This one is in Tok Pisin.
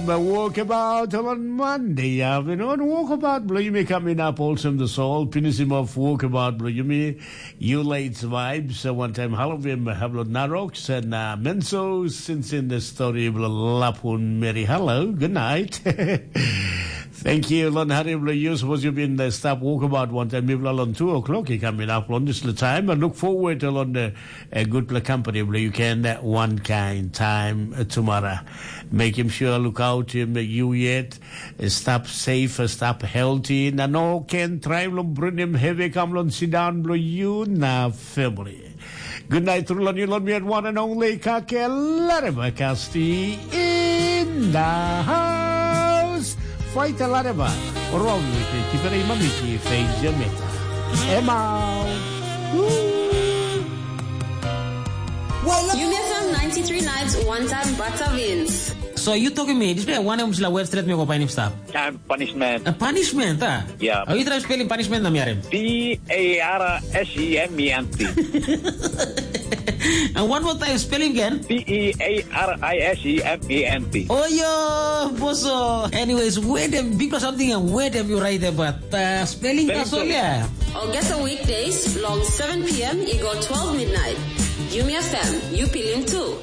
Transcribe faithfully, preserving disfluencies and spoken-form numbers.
Walkabout on Monday afternoon. Walkabout bilong yumi coming up, Wholesome the Soul. Finish him off, Walkabout bilong yumi. You late vibes. Uh, one time Halloween, Hablo Naroks and uh, Menso since in the story bilong Lapun Mary. Hello, good night. Thank you, Lon Hari bilong you. Suppose you've been the stop Walkabout one time. Maybe on two o'clock, you coming up on this time. I look forward to on the a good company bilong you can uh, one kind time uh, tomorrow. Make him sure look out him uh, you yet. Uh, stop safe, uh, stop healthy. Na no can try long bring him heavy come long sit down bilong you na family. Good night, Rulani Lomi, and one and only Kake Lareva Kasti in the house. Fight a Lareva. Wrong with it. Keep it in my Mickey. Face your meta. Emma. Woo. Yumi F M ninety-three Nights, one time Batavins. So you talking me, this way one em sila web straight me go painim stap. Time punishment. A punishment, ah? Yeah. Are you trying spelling punishment na miarim? P A R S E M E N T. And one more time, spelling again. P E A R I S E M E N T. Oh yo, boso. Anyways, where them big or something and where them you write about uh, spelling Spelling that's all, yeah. Or get a weekdays long seven p.m. It go twelve midnight. Yumi F M, you feeling too.